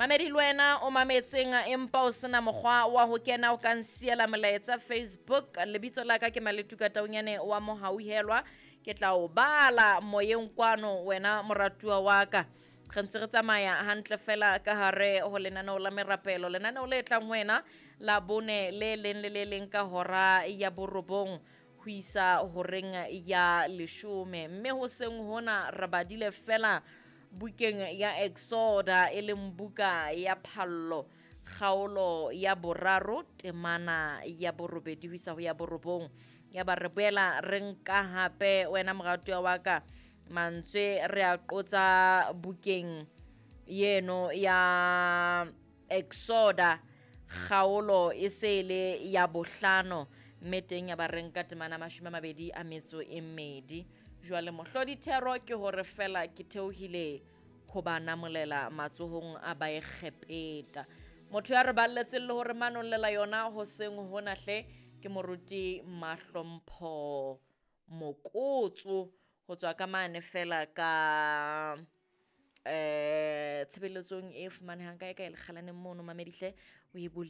Mamedi le wena o mametseng empa o sena mokgwa wa ho kena, o ka nsiela molaetsa Facebook. Lebitso la ka ke Maletuka Taunyane wa Mohauhelwa. Ke tla o bala moyeng kwano wena moratuwa wa ka. Re ntse re tsamaya hantle fela ka hare ho lenaneo la merapelo, lenaneo le tlang ho wena la bone le leng le le leng ka hora ya borobong ho isa horeng ya leshome. Mme hoseng hona re badile fela bukeng ya Exoda, e leng buka ya phallo, kgaolo ya boraro temana ya borobedi ho isa ho ya borobong. Ya ba re boela re nka hape wena moratuwa wa ka mantswe re a qotsa bukeng yeno ya Exoda, kgaolo e se le ya bohlano, mme teng ya ba re nka temana 24. Jwale mohlodi thero ke hore fela ke theohile ho ba namolela matsohong a Baegepeta. Motho ya re balletseng le hore manollela yona hoseng hona hle ke moruti Mahlompho Mokotso ho tswa ka mane fela ka tshebeletsong e fumanehang kae kae lekgalaneng mono mamedihle o e bole.